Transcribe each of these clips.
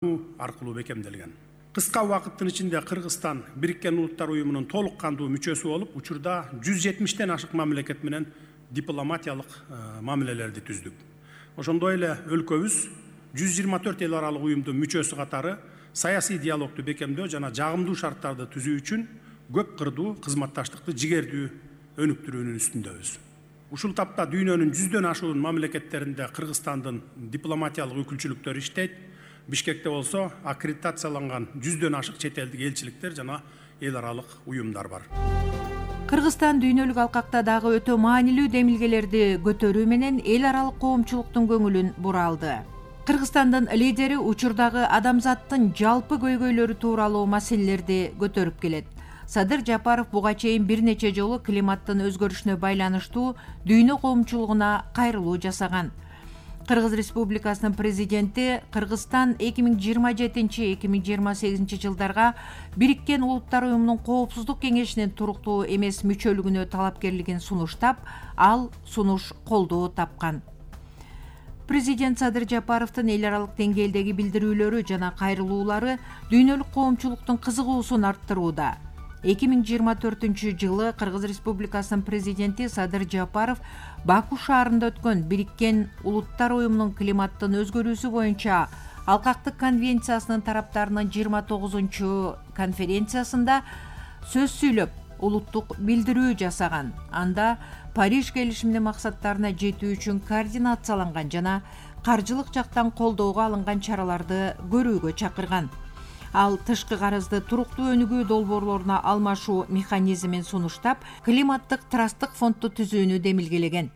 аркылуу бекемделген. Кыска убакыттын ичинде Кыргызстан Бириккен Улуттар Уюмунун толук кандуу мүчөсү болуп, учурда 170тен ашык мамлекет менен дипломатиялык мамилелерди түздүк. Ошондой эле өлкөбүз 124 эл аралык уюмдун мүчөсү катары саясий диалогду бекемдөө жана жагымдуу шарттарды түзүү үчүн көп кырдуу кызматташтыкты жигердүү өнүктүрүүнүн үстүндөбүз. Ушул тапта дүйнөнүн 100дөн ашуун мамлекеттеринде Кыргызстандын дипломатиялык өкүлчүлүктөрү иштейт. Бишкекте болсо аккредитацияланган 100дөн ашык чет элдик элчиликтер жана эл аралык уюмдар бар. Кыргызстан дүйнөлүк алкакта дагы өтө маанилүү демилгелерди көтөрүү менен эл аралык коомчулуктун көңүлүн бура алды. Кыргызстандын лидери учурдагы адамзаттын жалпы көйгөйлөрү тууралуу маселелерди көтөрүп келет. Садыр Жапаров буга чейин бир нече жолу климаттын өзгөрүшүнө байланыштуу дүйнө коомчулугуна кайрылуу жасаган. Кыргыз Республикасынын президенти Кыргызстан 2027-2028 жылдарга Бириккен Улуттар Уюмунун Коопсуздук кеңешинин туруктуу эмес мүчөлүгүнө талапкерлигин сунуштап, ал сунуш колдоо тапкан. Президент Садыр Жапаровдун эл аралык деңгээлдеги билдирүүлөрү жана кайрылуулары дүйнөлүк коомчулуктун кызыгуусун арттырууда. 2024 жылы Кыргыз Республикасынын президенти Садыр Жапаров Баку шаарында өткөн Бириккен Улуттар Уюмунун климаттын өзгөрүүсү боюнча алкактык конвенциясынын тараптарынын 29 конференциясында сөз сүйлөп, улуттук билдирүү жасаган. Анда Париж келишиминин максаттарына жетүү үчүн координацияланган жана каржылык жактан колдоого алынган чараларды көрүүгө чакырган. Ал тышкы карызды туруктуу өнүгүү долбоорлоруна алмашуу механизмин сунуштап, климаттык трасттык фондду түзүүнү демилгелеген.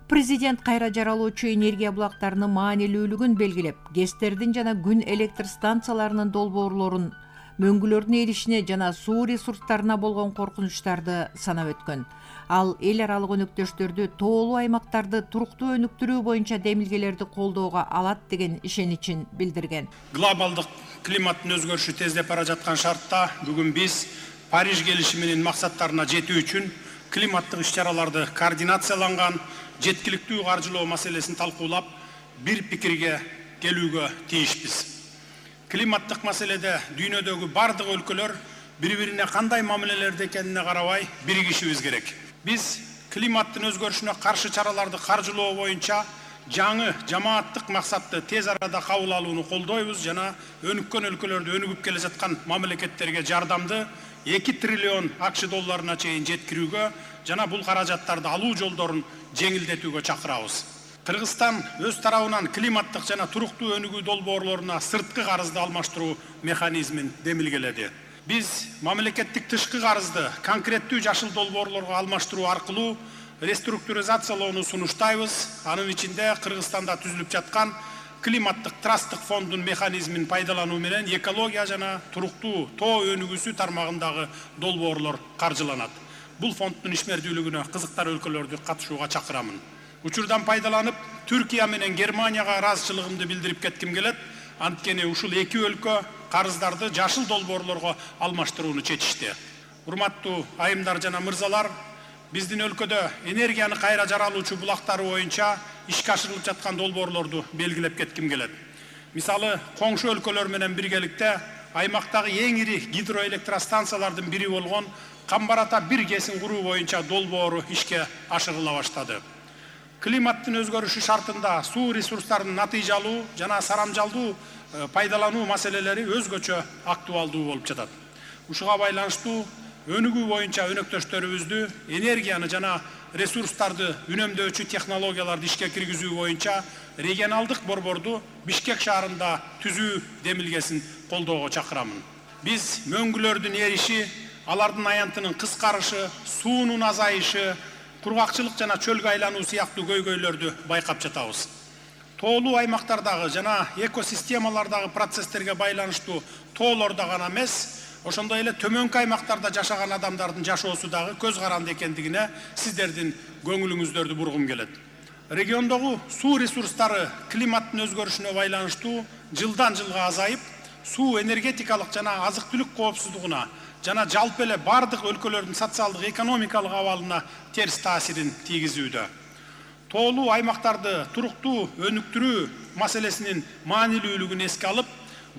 Президент кайра жаралуучу энергия булактарынын маанилүүлүгүн белгилеп, ГЭСтердин жана күн электр станцияларынын долбоорлорун, мөңгүлөрдүн эришине жана суу ресурстарына болгон коркунучтарды санап өткөн. Ал эл аралык өнөктөштөрдү тоолуу аймактарды туруктуу өнүктүрүү боюнча демилгелерди колдоого алат деген ишеничин билдирген. Глобалдык климаттын өзгөрүшү тездеп бара жаткан шартта бүгүн биз Париж келишиминин максаттарына жетүү үчүн климаттык иш-чараларды координацияланган, жеткиликтүү каржылоо маселесин талкуулап, бир пикирге келүүгө тийишпиз. Климаттык маселеде дүйнөдөгү бардык өлкөлөр бири-бирине кандай мамилелерде экенине карабай биригишибиз керек. Биз климаттын өзгөрүшүнө каршы чараларды каржылоо боюнча жаңы жамааттык максатты тез арада кабыл алууну колдойбуз жана өнүккөн өлкөлөрдө өнүгүп келе жаткан мамлекеттерге жардамды 2 триллион АКШ долларына чейин жеткирүүгө жана бул каражаттарды алуу жолдорун жеңилдетүүгө чакырабыз. Кыргызстан өз тарабынан климаттык жана туруктуу өнүгүү долбоорлоруна сырткы карызды алмаштыруу механизмин демилгеледи. Биз мамлекеттик тышкы карызды конкреттүү жашыл долбоорлорго алмаштыруу аркылуу реструктуризациялоону сунуштайбыз. Анын ичинде Кыргызстанда түзүлүп жаткан климаттык трасттык фонддун механизмин пайдалануу менен экология жана туруктуу тоо өнүгүүсү тармагындагы долбоорлор каржыланат. Бул фонддун ишмердүүлүгүнө кызыктар өлкөлөрдү катышууга чакырамын. Учурдан пайдаланып, Түркия менен Германияга ыраазычылыгымды билдирип кетким келет. Анткени ушул эки өлкө карыздарды жашыл долбоорлорго алмаштырууну чечишти. Урматтуу айымдар жана мырзалар, биздин өлкөдө энергияны кайра жаралуучу булактары боюнча ишке ашырылып жаткан долбоорлорду белгилеп кетким келет. Мисалы, коңшу өлкөлөр менен биргеликте аймактагы эң ири гидроэлектростанциялардын бири болгон Камбарата 1 ГЭСин куруу боюнча долбоору ишке ашырыла баштады. Климаттын өзгөрүшү шартында суу ресурстарынын натыйжалуу жана сарамжалдуу пайдалануу маселелери өзгөчө актуалдуу болуп жатат. Ушуга байланыштуу өнүгүү боюнча өнөктөштөрүбүздү энергияны жана ресурстарды үнөмдөөчү технологияларды ишке киргизүү боюнча регионалдык борборду Бишкек шаарында түзүү демилгесин колдоого чакырамын. Биз мөңгүлөрдүн эриши, алардын аянтынын кыскарышы, суунун азайышы, кургакчылык жана чөлгө айлануу сыяктуу көйгөйлөрдү байкап жатабыз. Тоолуу аймактардагы жана экосистемалардагы процесстерге байланыштуу тоолордо гана эмес, ошондой эле төмөнкү аймактарда жашаган адамдардын жашоосу дагы көз каранды экендигине сиздердин көңүлүңүздөрдү бургум келет. Региондогу суу ресурстары климаттын өзгөрүшүнө байланыштуу жылдан жылга азайып, суу энергетикалык жана азык-түлүк коопсуздугуна жана жалпы эле бардык өлкөлөрдүн социалдык экономикалык абалына терс таасирин тийгизүүдө. Тоолуу аймактарды туруктуу өнүктүрүү маселесинин маанилүүлүгүн эске алып,